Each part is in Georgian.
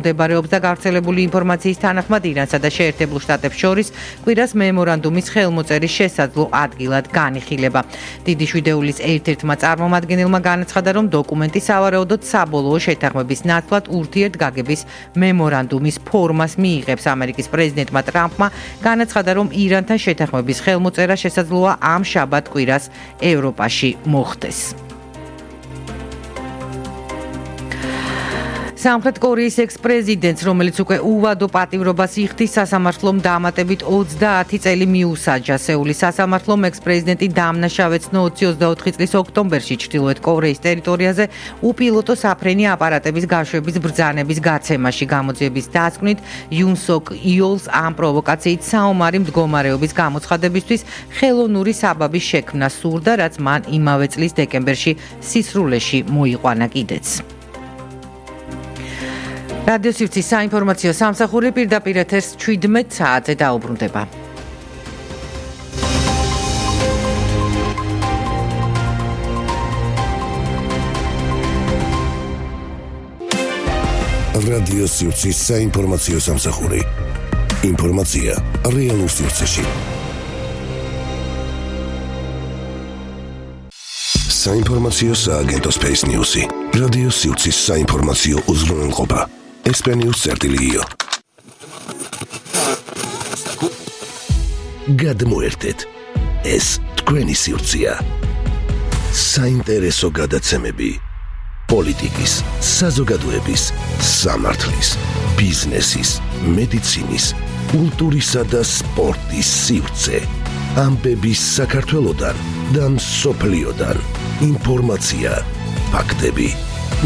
მიმდებარეობს და გავრცელებული ინფორმაციის თანახმად ირანსა და შეერთებულ შტატებს შორის კვირას მემორანდუმის ხელმოწერის შესაძლო ადგილად განიხილება. დიდი შვიდეულის ერთ-ერთმა წარმომადგენელმა განაცხადა, რომ დოკუმენტი სავარაუდოდ საბოლოო შეთანხმების ნაცვლად ურთიერთგაგების მემორანდუმის ფორმას მიიღებს. ამერიკის პრეზიდენტმა ტრამპმა განაცხადა, რომ ირანთან შეთანხმების ხელმოწერა შესაძლოა ამ შაბათ-კვირას ევროპაში მოხდეს. სამხრეთ კორეის ექს-პრეზიდენტს, რომელიც უკვე უვადო პატიმრობას იხდის, სასამართლომ დამატებით 30 წელი მიუსაჯა. სეულის სასამართლომ ექს-პრეზიდენტი დამნაშავეცნო 2024 წლის ოქტომბერში ჩრდილოეთ კორეის ტერიტორიაზე უპილოტო საფრენი აპარატების გაშვების ბრძანების გაცემაში. გამოძიების დასკვნით იუნ სოკ იოლს ამ პროვოკაციით საომარი მდგომარეობის გამოცხადებისთვის ხელოვნური საბაბის შექმნა სურდა, რაც მან იმავე წლის დეკემბერში სისრულეში მოიყვანა კიდეც. რადიო სივრცის საინფორმაციო სამსახური პირდაპირ ეთერს 17 საათზე დაუბრუნდება. რადიო სივრცის საინფორმაციო სამსახური. ინფორმაცია რეალურ სივრცეში. საინფორმაციო სააგენტო Space News-ი. რადიო სივრცის საინფორმაციო უზრუნველყოფა. ესპენიუს.io. გადმოერთეთ. ეს თქვენი სივრცეა. საინტერესო გადაცემები. პოლიტიკის, საზოგადოების, სამართლის, ბიზნესის, მედიცინის, კულტურისა და სპორტის სივრცე. ამბების საქართველოდან და მსოფლიოდან. ინფორმაცია, ფაქტები,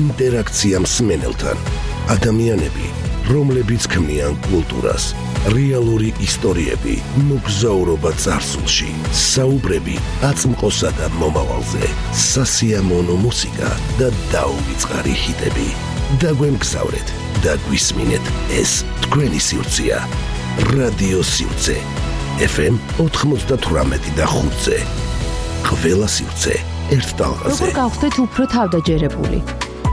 ინტერაქცია მსმენელთან. ადამიანები, რომლებიც ქმნიან კულტურას, რეალური ისტორიები, მოგზაურობა წარსულში, საუბრები აწმყოსა და მომავალზე, სასიამოვნო მუსიკა და დაუვიწყარი ჰიტები. დაგვემგზავრეთ და გვისმინეთ, ეს თქვენი სივრცეა. რადიო სივრცე. FM 98 და 5-ზე. ყველა სივრცე ერთ ტალღაზე. როგორ გავხდეთ უფრო თავდაჯერებული?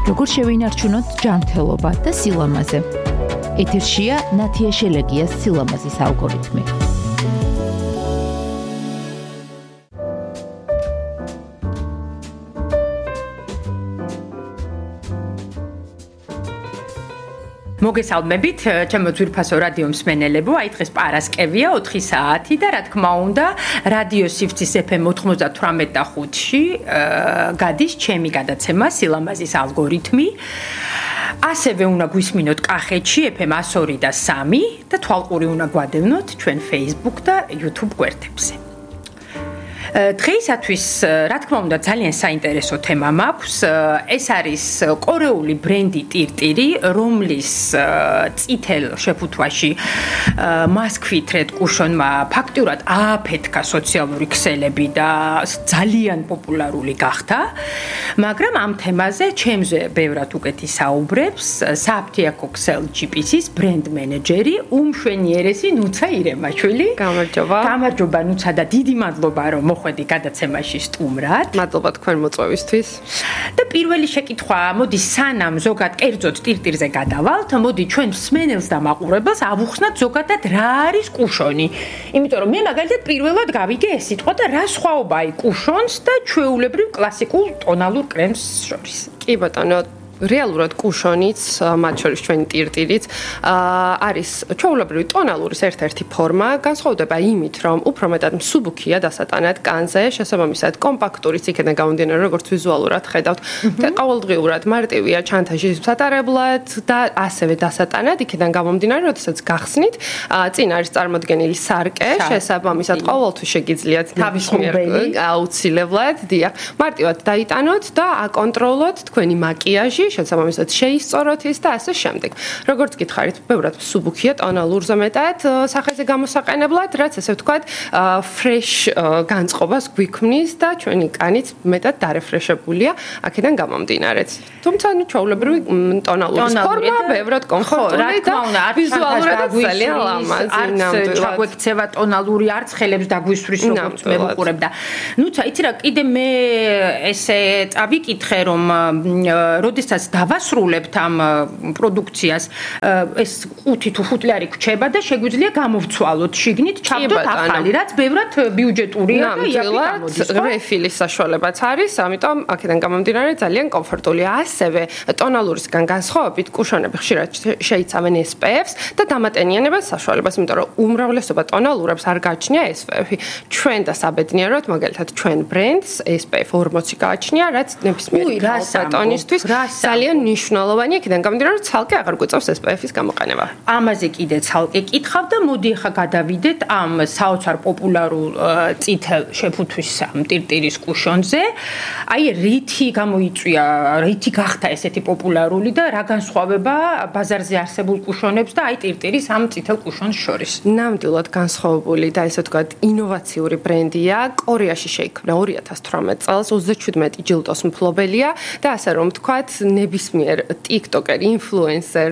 როგორ შევინარჩუნოთ ჯანმრთელობა და სილამაზე? ეთერშია ნათია შელეგიას სილამაზის ალგორითმი. მოგესალმებით, ჩემო ძვირფასო რადიო მსმენელებო, აი დღეს პარასკევია 4 საათი და რა თქმა უნდა, რადიო სივრცის FM 98.5-ში გადის ჩემი გადაცემა სილამაზის ალგორითმი. ასევე უნდა გვისმინოთ კახეთში FM 102 და 3 და თვალყური უნდა გვადევნოთ ჩვენ Facebook და YouTube გვერდებზე. დღეისათვის, რა თქმა უნდა, ძალიან საინტერესო თემა მაქვს. ეს არის კორეული ბრენდი ტირტირი, რომლის წითელ შეფუთვაში მასქვით რედ კუშონმა ფაქტურად ააფეთქა სოციალური ქსელები და ძალიან პოპულარული გახდა. მაგრამ ამ თემაზე ჩემზე ბევრად უკეთი საუბრებს საფთიაქო ქსელ GPC-ის ბრენდ მენეჯერი უმშვენიერესი ნუცა ირემაშვილი. გამარჯობა ნუცა და დიდი მადლობა რომ მოხვედი გადაცემაში სტუმრად. მადლობა თქვენ მოწვევისთვის. და პირველი შეკითხვა, მოდი სანამ ზოგად კერძოდ ტირტირზე გადავალთ, მოდი ჩვენ მსმენელს და მაყურებელს ავუხსნათ ზოგადად რა არის კუშონი. იმიტომ რომ მე მაგალითად პირველად გავიგე ეს სიტყვა და რა სხვაობაა კუშონს და ჩვეულებრივ კლასიკულ ტონალურ კრემს შორის. კი ბატონო, რეალურად კუშონიც, მათ შორის ჩვენი ტირტირიც, არის ჩვეულებრივი ტონალურის ერთ-ერთი ფორმა, განსხვავდება იმით, რომ უფრო მეტად მსუბუქია დასატანად კანზე, შესაბამისად კომპაქტურიც იქიდან გამომდინარე, როგორც ვიზუალურად ხედავთ, და ყოველდღიურად მარტივია ჩანთაში სატარებლად და ასევე დასატანად იქიდან გამომდინარე, როდესაც გახსნით, წინ არის წარმოდგენილი სარკე, შესაბამისად ყოველთვის შეგიძლიათ თავის ხუმბელი აუცილებლად, დიახ, მარტივად დაიტანოთ და აკონტროლოთ თქვენი მაკიაჟი, შესაბამისად შეისწოროთ ის და ასე შემდეგ. როგორც გითხარით, ბევრად მსუბუქია ტონალურზე მეტად სახეზე გამოსაყენებლად, რაც ესე ვთქვათ, ფრეშ განწყობას გვიქმნის და ჩვენი კანიც მეტად დარეფრეშებულია აქედან გამომდინარეც. თუმცა ჩვეულებრივი ტონალურის ფორმა ბევრად კომფორტული და ვიზუალურად ძალიან ლამაზი ნამდვილად. ჩაგვექცევა ტონალური არც ხელებს დაგვისვრის როგორც მე ვუყურებ და ნუცა იცი რა, კიდე მე ესე წავიკითხე რომ როდესაც როდესაც დავასრულებთ ამ პროდუქციას, ეს 5 თუ 5 ლარი გვჩება და შეგვიძლია გამოვცვალოთ შიგნით, ჩავდოთ ახალი, რაც ბევრად ბიუჯეტურია და იაფი გამოდის. რეფილის საშუალებაც არის, ამიტომ აქედან გამომდინარე ძალიან კომფორტულია. ასევე ტონალურისგან განსხვავებით კუშონები ხშირად შეიცავენ SPF-ს და დამატენიანებას საშუალებას, იმიტომ რომ უმრავლესობა ტონალურებს არ გააჩნია SPF-ი. ჩვენ და საბედნიეროდ, მაგალითად, ჩვენ ბრენდს SPF 40 გააჩნია, რაც ნებისმიერი ტონისთვის ძალიან მნიშვნელოვანია, იქიდან გამომდინარე, რომ ცალკე აღარ გვიწევს SPF-ის გამოყენება. ამაზე კიდე ცალკე კითხავ და მოდი ახლა გადავიდეთ ამ საოცარ პოპულარულ წითელ შეფუთვის ამ ტირტირის კუშონზე. აი რითი გამოიწვია, რითი გახდა ესეთი პოპულარული და რა განსხვავება ბაზარზე არსებულ კუშონებს და აი ტირტირის ამ წითელ კუშონს შორის? ნამდვილად განსხვავებული და ესე ვთქვათ ინოვაციური ბრენდია. კორეაში შეიქმნა 2018 წელს, 27 ჯილდოს მფლობელია და ასე რომ ვთქვათ, ნებისმიერ TikToker, influencer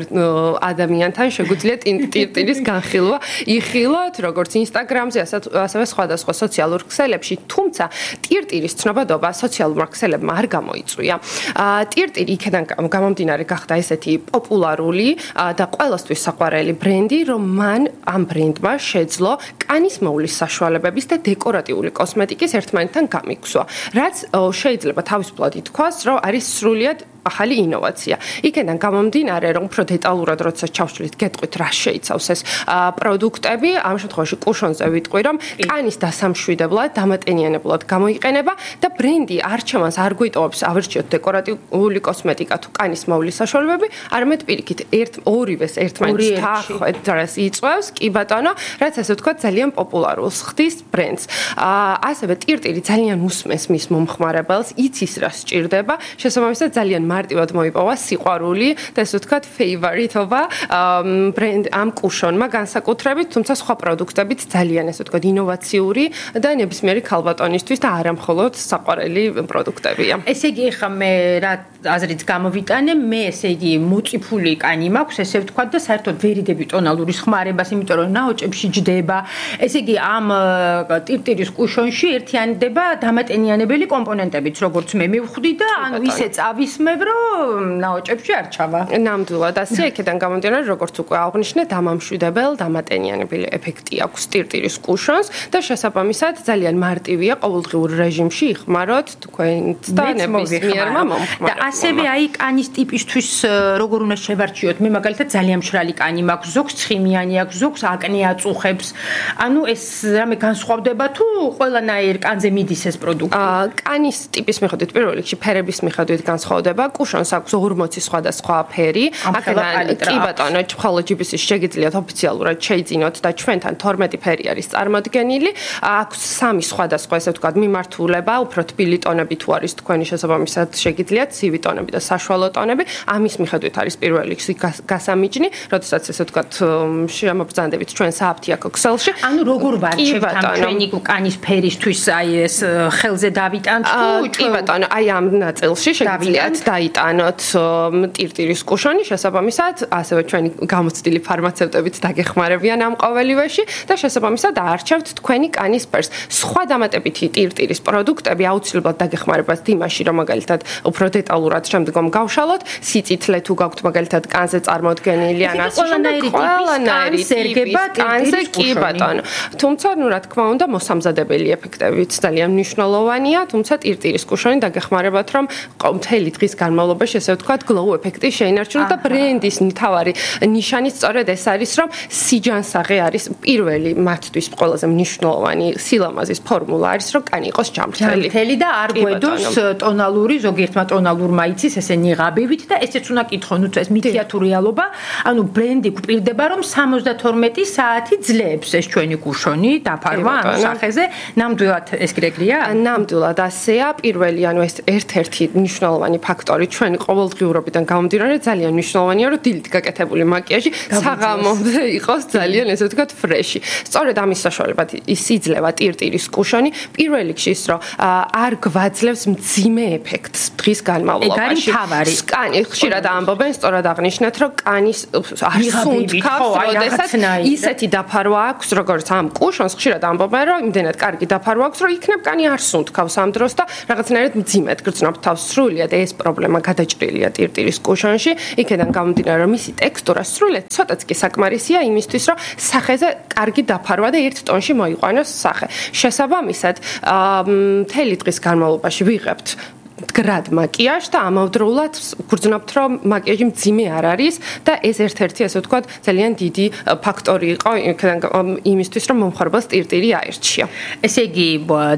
ადამიანთან შეგვიძლია ტირტირის განხილვა იხილოთ, როგორც Instagram-ზე, ასევე სხვადასხვა სოციალურ ქსელებში, თუმცა ტირტირის ცნობადობა სოციალურმა ქსელებმა არ გამოიწვია. ტირტირი იქიდან გამომდინარე გახდა ესეთი პოპულარული და ყველასთვის საყვარელი ბრენდი, რომ მან ამ ბრენდმა შეძლო კანის მოვლის საშუალებების და დეკორატიული კოსმეტიკის ერთმანეთთან გამიგვსვა, რაც შეიძლება თავისუფლად ითქვას, რომ არის სრულიად ახალი ინოვაცია. იქიდან გამომდინარე, რომ უფრო დეტალურად როცა ჩავშლით, გეტყვით რა შეიცავს ეს პროდუქტები, ამ შემთხვევაში კუშონზე ვიტყვი, რომ კანის დასამშვიდებლად, დამატენიანებლად გამოიყენება და ბრენდი არჩევანს არ გვიტოვებს ავირჩიოთ დეკორატიული კოსმეტიკა თუ კანის მოვლის საშუალებები, არამედ პირიქით ორივეს ერთმანეთს თახვედრას იწვევს, კი ბატონო, რაც ასე ვთქვათ ძალიან პოპულარულს ხდის ბრენდს. ასევე ტირტირი ძალიან უსმენს მის მომხმარებელს, იცის რა სჭირდება, შესაბამისად ძალიან მარტივად მოიპოვა სიყვარული და ესე ვთქვათ ფეივორიტობა ბრენდ ამ კუშონმა განსაკუთრებით, თუმცა სხვა პროდუქტებიც ძალიან ესე ვთქვათ ინოვაციური და ნებისმიერი ქალბატონისთვის და არა მხოლოდ საყვარელი პროდუქტებია. ესე იგი ხა მე რა აზრით გამოვიტანე, მე ესე იგი მოწიფული კანი მაქვს, ესე ვთქვათ და საერთოდ ვერიდები ტონალურის ხმარებას, იმიტომ რომ ნაოჭებში ჯდება. ესე იგი ამ ტირტირის კუშონში ერთიანდება დამატენიანებელი კომპონენტებიც, როგორც მე მივხვდი და ანუ ისე წავისმებ, რომ ნაოჭებში არ ჩავა. ნამდვილად ასე, იქიდან გამომდინარე, როგორც უკვე აღვნიშნე, დამამშვიდებელ დამატენიანებელი ეფექტი აქვს ტირტირის კუშონს და შესაბამისად ძალიან მარტივია ყოველდღიურ რეჟიმში იხმაროთ თქვენც და ნებისმიერმა მომხმარებელმა. და ასევე აი კანის ტიპისთვის როგორ უნდა შევარჩიოთ? მე მაგალითად ძალიან მშრალი კანი მაქვს, ზოგს ცხიმიანი აქვს, ზოგს აკნე აწუხებს. ანუ ეს რამე განსხვავდება თუ ყველანაირ კანზე მიდის ეს პროდუქტი? კანის ტიპის მიხედვით პირველ რიგში ფერების მიხედვით განსხვავდება. კუშონს აქვს 40 სხვადასხვა ფერი. აქედან კი ბატონო, მხოლოდ GBC-ში შეგიძლიათ ოფიციალურად შეიძინოთ და ჩვენთან 12 ფერი არის წარმოდგენილი. აქვს 3 სხვადასხვა, ესე ვთქვათ, მიმართულება, უფრო თბილი ტონები თუ არის თქვენი შესაბამისად შეგიძლიათ ცივი ტონები და საშუალო ტონები. ამის მიხედვით არის პირველ რიგში გასამიჯნი, როდესაც ესე ვთქვათ, შემობრძანდებით ჩვენ სააფთიაქო ქსელში. ანუ როგორ ვარჩევთ ამ ჩვენი კანის ფერისთვის აი ეს ხელზე დავიტანთ თუ კი ბატონო, აი ამ ნაწილში შეგიძლიათ დაიტანოთ ტირტირის კუშონი, შესაბამისად, ასევე ჩვენი გამოცდილი ფარმაცევტებიც დაგეხმარებიან ამ ყოველივეში და შესაბამისად აარჩევთ თქვენი კანის ფერს. სხვა დამატებითი ტირტირის პროდუქტები აუცილებლად დაგეხმარებათ იმაში, რომ მაგალითად უფრო დეტალურად შემდგომ გავშალოთ, სიწითლე თუ გაქვთ მაგალითად კანზე წარმოდგენილი ან ასე ყველანაირი ტიპის ერგება ტირტირის კი ბატონო. თუმცა, ну რა თქმა უნდა, მოსამზადებელი ეფექტებიც ძალიან მნიშვნელოვანია, თუმცა ტირტირის კუშონი დაგეხმარებათ, რომ მთელი დღის განმავლობაში ესე ვთქვათ, glow ეფექტი შეინარჩუნოთ და ბრენდის მთავარი ნიშანი სწორედ ეს არის, რომ სიჯანსაღე არის პირველი მათთვის ყველაზე მნიშვნელოვანი სილამაზის ფორმულა არის, რომ კანი იყოს ჯამრთელი. ჯამრთელი და არ გვედოს ტონალური, ზოგიერთმა ტონალურმა იცის ესე ნიღაბივით და ესეც უნდა კითხო, ну ეს მითია თუ რეალობა, ანუ ბრენდი გვპირდება, რომ 72 საათი ძლებს ეს ჩვენი კუშონი დაფარვა ამ სახეზე, ნამდვილად ეს გრეგლია? ნამდვილად ასეა, პირველი ანუ ეს ერთ-ერთი მნიშვნელოვანი ფაქტორი ჩვენი ყოველდღიურობიდან გამომდინარე ძალიან მნიშვნელოვანია, რომ დილით გაკეთებული მაკიაჟი საღამომდე იყოს ძალიან ესე ვთქვათ ფრეში. სწორედ ამის საშუალებად ის იძლევა ტირტირის კუშონი პირველ რიგში ის, რომ არ გვაძლევს მძიმე ეფექტს დღის განმავლობაში. კანი ხშირად ამბობენ, სწორად აღნიშნეთ, რომ კანის არ სუნთქავს, როდესაც ისეთი დაფარვა აქვს, როგორც ამ კუშონს ხშირად ამბობენ, რომ იმდენად კარგი დაფარვა აქვს, რომ იქნებ კანი არ სუნთქავს ამ დროს და რაღაცნაირად მძიმედ გრძნობ თავს სრულიად ეს პრობლემა სისტემა გადაჭრილია ტირტირის კუშონში, იქედან გამომდინარე, რომ მისი ტექსტურა სრულიად ცოტაც კი საკმარისია იმისთვის, რომ სახეზე კარგი დაფარვა და 1 ტონში მოიყვანოს სახე. შესაბამისად, მთელი დღის განმავლობაში ვიღებთ მდგრად მაკიაჟს და ამავდროულად გვგრძნობთ, რომ მაკიაჟი მძიმე არ არის და ეს ერთ-ერთი ასე ვთქვათ ძალიან დიდი ფაქტორი იყო იმისთვის, რომ მომხმარებელს ტირტირი აერჩია. ესე იგი,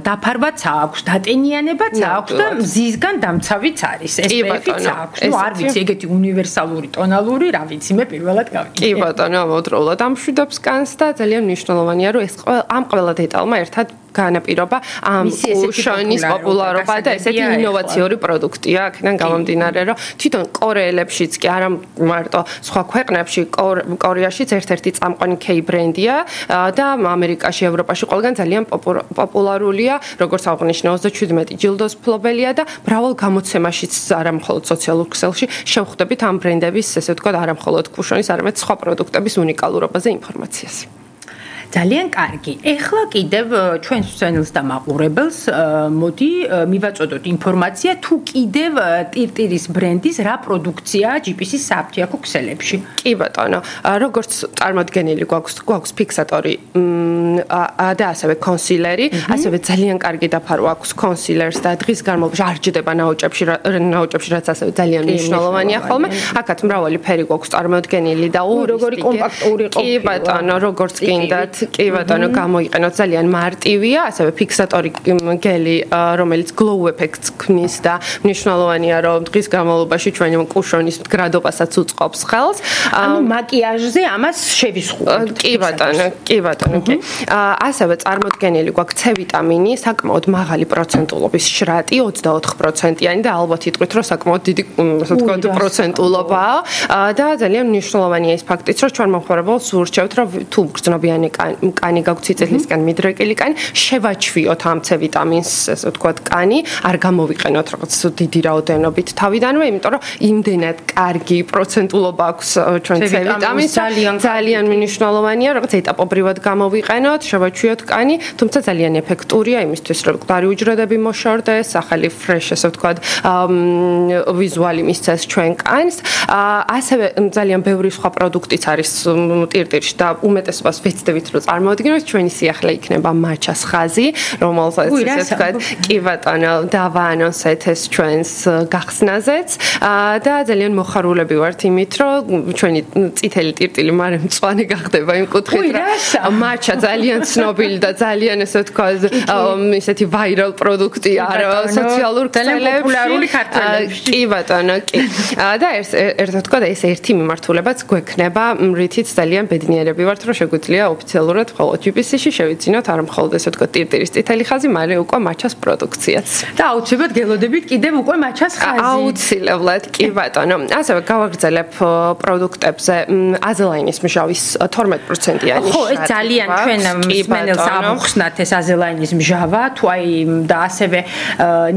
დაფარვაც აქვს, დატენიანებაც აქვს და მზისგან დამცავიც არის. SPF-იც აქვს. ნუ არ ვიცი, ეგეთი უნივერსალური ტონალური, რა ვიცი, მე პირველად გავიგე. კი ბატონო, ამავდროულად ამშვიდობს კანს და ძალიან მნიშვნელოვანია, რომ ეს ამ ყველა დეტალმა ერთად განაპირობა ამ კუშონის პოპულარობა და ესეთი ინოვაციური პროდუქტია, აქედან გამომდინარე, რომ თვითონ კორეელებშიც კი არა მარტო სხვა ქვეყნებში, კორეაშიც ერთ-ერთი წამყვანი K ბრენდია და ამერიკაში, ევროპაში ყველგან ძალიან პოპულარულია, როგორც აღნიშნა 37 ჯილდოს მფლობელია და მრავალ გამოცემაშიც არა მხოლოდ სოციალურ ქსელში შევხვდებით ამ ბრენდების, ესე ვთქვათ, არა მხოლოდ კუშონის, არამედ სხვა პროდუქტების უნიკალურობაზე ინფორმაციას. ძალიან კარგი. ეხლა კიდევ ჩვენს მსმენელს და მაყურებელს მოდი მივაწოდოთ ინფორმაცია თუ კიდევ ტირტირის ბრენდის რა პროდუქციაა GPC-ის საფთიაქო ქსელებში. კი ბატონო, როგორც წარმოდგენილი გვაქვს ფიქსატორი და ასევე კონსილერი, ასევე ძალიან კარგი დაფარვა აქვს კონსილერს და დღის განმავლობაში არ ჯდება ნაოჭებში, რაც ასევე ძალიან მნიშვნელოვანია ხოლმე. აქაც მრავალი ფერი გვაქვს წარმოდგენილი და როგორი კომპაქტური ყოფილი. კი ბატონო, როგორც გინდათ კი ბატონო, გამოიყენოთ, ძალიან მარტივია, ასევე ფიქსატორი გელი, რომელიც glow effect-ს ქმნის და მნიშვნელოვანია, რომ დღის განმავლობაში ჩვენი კუშონის მდგრადობასაც უწყობს ხელს. ანუ მაკიაჟზე ამას შევისხურებთ. კი ბატონო, კი. ასევე წარმოდგენილი გვაქვს C ვიტამინი, საკმაოდ მაღალი პროცენტულობის შრატი, 24%-იანი და ალბათ იტყვით, რომ საკმაოდ დიდი, ასე ვთქვათ, პროცენტულობაა და ძალიან მნიშვნელოვანია ის ფაქტიც, რომ ჩვენ მომხმარებელს ვურჩევთ, რომ თუ გრძნობიანი კანი გაქვთ სიცილისგან მიდრეკილი კანი, შევაჩვიოთ ამ C ვიტამინს, ასე ვთქვათ, კანი, არ გამოვიყენოთ რაღაც დიდი რაოდენობით თავიდანვე, იმიტომ რომ იმდენად კარგი პროცენტულობა აქვს ჩვენ C ვიტამინს, ძალიან მნიშვნელოვანია, რაღაც ეტაპობრივად გამოვიყენოთ, შევაჩვიოთ კანი, თუმცა ძალიან ეფექტურია იმისთვის, რომ მკვდარი უჯრედები მოშორდეს, ახალი fresh, ასე ვთქვათ, ვიზუალი მისცეს ჩვენ კანს. ასევე ძალიან ბევრი სხვა პროდუქტიც არის ტირტირში და უმეტესობას ვეცდებით, რომ წარმოადგინოთ, ჩვენი სიახლე იქნება მაჩას ხაზი, რომელსაც ესე ვთქვათ, კი ბატონო, დავაანონსეთ ეს ჩვენს გახსნაზეც და ძალიან მოხარულები ვართ იმით, რომ ჩვენი წითელი ტირტილი მარე მწვანე გახდება იმ კუთხით, რომ მაჩა ძალიან ცნობილი და ძალიან ესე ვთქვათ, ისეთი ვაირალ პროდუქტია სოციალურ ქსელებში, პოპულარული ქართველებში. კი ბატონო, კი. და ერთად ვთქვათ, ეს ერთი მიმართულებაც გვექნება, რითიც ძალიან ბედნიერები ვართ, რომ შეგვიძლია ოფიციალურად მხოლოდ GPC-ში შევიძინოთ, არ მხოლოდ ესე ვთქვათ, ტირტირის წითელი ხაზი, მაგრამ უკვე მაჩას პროდუქციაც. და აუცილებლად გელოდებით კიდევ უკვე მაჩას ხაზი. აუცილებლად, კი ბატონო. ასევე გავაგრძელებ პროდუქტებზე აზელაინის მჟავის 12%-იანი ხო, ეს ძალიან ჩვენ მსმენელს ამოხსნათ ეს აზელაინის მჟავა, თუ აი და ასევე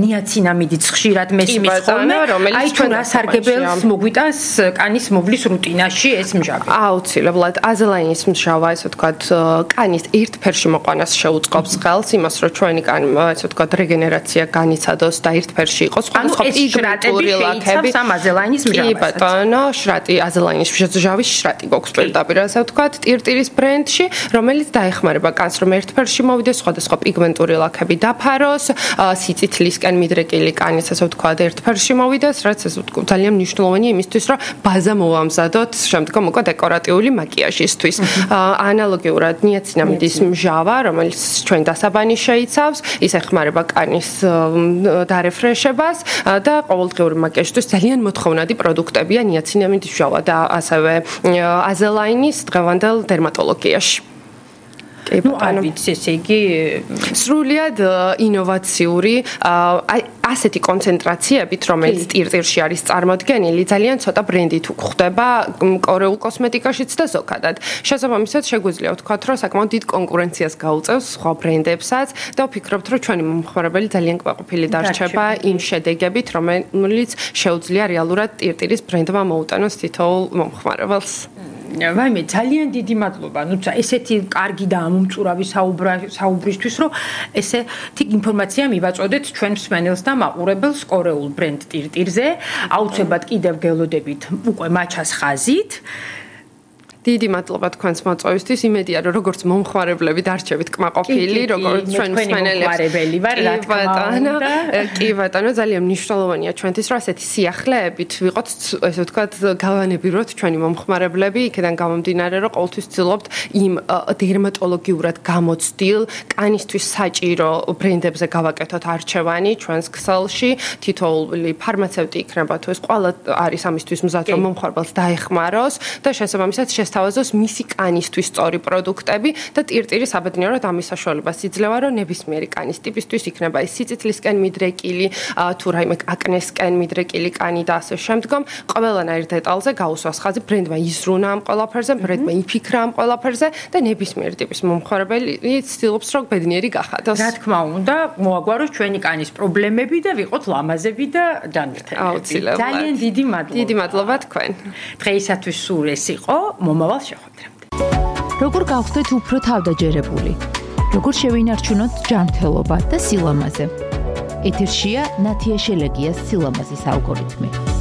ნიაცინამიდიც ხშირად მესმის ხოლმე, აი თუ რა სარგებელს მოგვიტანს კანის მოვლის რუტინაში ეს მჟავი. აუცილებლად აზელაინის მჟავა, ესე ვთქვათ, კანის ერთფერში მოყვანას შეუწყობს ხელს, იმას რომ ჩვენი კანი, ესე ვთქვათ, რეგენერაცია განიცადოს და ერთფერში იყოს სხვადასხვა პიგმენტური ლაქები. ამ აზელაინის მჟავას. კი ბატონო, შრატი აზელაინის მჟავის შრატი გვაქვს პირდაპირ, ასე ვთქვათ, ტირტირის ბრენდში, რომელიც დაეხმარება კანს, რომ ერთფერში მოვიდეს, სხვადასხვა პიგმენტური ლაქები დაფაროს, სიცითლისკენ მიდრეკილი კანის, ასე ვთქვათ, ერთფერში მოვიდეს, რაც ესე ვთქვათ, ძალიან მნიშვნელოვანია იმისთვის, რომ ბაზა მოვამზადოთ შემდგომ უკვე დეკორატიული მაკიაჟისთვის. ანალოგიურად ნიაცინამიდის მჟავა, რომელიც ჩვენ დასაბანი შეიცავს, ის ეხმარება კანის დარეფრეშებას და ყოველდღიური მაკიაჟისთვის ძალიან მოთხოვნადი პროდუქტებია ნიაცინამიდის მჟავა და ასევე აზელაინის დღევანდელ დერმატოლოგიაში. ნუ არ ვიცი, ესე იგი სრულიად ინოვაციური, ასეთი კონცენტრაციებით, რომელიც ტირტირში არის წარმოდგენილი, ძალიან ცოტა ბრენდით გვხვდება კორეულ კოსმეტიკაშიც და ზოგადად. შესაბამისად, შეგვიძლია ვთქვათ, რომ საკმაოდ დიდ კონკურენციას გაუწევს სხვა ბრენდებსაც და ვფიქრობთ, რომ ჩვენი მომხმარებელი ძალიან კმაყოფილი დარჩება იმ შედეგებით, რომელიც შეუძლია რეალურად ტირტირის ბრენდმა მოუტანოს თითოეულ მომხმარებელს. ვაიმე, ძალიან დიდი მადლობა. ნუ ესეთი კარგი და ამომწურავი საუბრისთვის, რომ ესეთი ინფორმაცია მივაწოდეთ ჩვენ მსმენელს და მაყურებელს კორეულ ბრენდ ტირტირზე. აუცილებლად კიდევ გელოდებით უკვე მაჩას ხაზით. დიდი მადლობა თქვენს მოწვევისთვის. იმედია რომ როგორც მომხმარებლები დარჩებით კმაყოფილი, როგორც ჩვენ მსმენელები ვარ, რა თქმა უნდა. კი ბატონო, ძალიან მნიშვნელოვანია ჩვენთვის რომ ასეთი სიახლეებით ვიყოთ, ესე ვთქვათ, გავანებიროთ ჩვენი მომხმარებლები, იქიდან გამომდინარე რომ ყოველთვის ვცდილობთ იმ დერმატოლოგიურად გამოცდილ, კანისთვის საჭირო ბრენდებზე გავაკეთოთ არჩევანი ჩვენს ქსელში. თითოეული ფარმაცევტი იქნება თუ ეს ყველა არის ამისთვის მზად რომ მომხმარებელს დაეხმაროს და შესაბამისად თავაზოს მისი კანისთვის სწორი პროდუქტები და ტირტირი საბედნიეროდ ამის საშუალებას იძლევა, რომ ნებისმიერი კანის ტიპისთვის იქნება ის სიცოცხლისკენ მიდრეკილი, თუ რაიმე აკნესკენ მიდრეკილი კანი და ასე შემდგომ, ყველანაირ დეტალზე გაუსვას ხაზი, ბრენდმა იზრუნა ამ ყველაფერზე, ბრენდმა იფიქრა ამ ყველაფერზე და ნებისმიერი ტიპის მომხმარებელი ცდილობს, რომ ბედნიერი გახადოს. რა თქმა უნდა, მოაგვაროს ჩვენი კანის პრობლემები და ვიყოთ ლამაზები და ჯანმრთელები. აუცილებლად. ძალიან დიდი მადლობა. დიდი მადლობა თქვენ. დღეისათვის სულ ეს იყო. მომავალ შეხვედრამდე. როგორ გავხდეთ უფრო თავდაჯერებული? როგორ შევინარჩუნოთ ჯანმრთელობა და სილამაზე? ეთერშია ნათია შელეგიას სილამაზის ალგორითმი.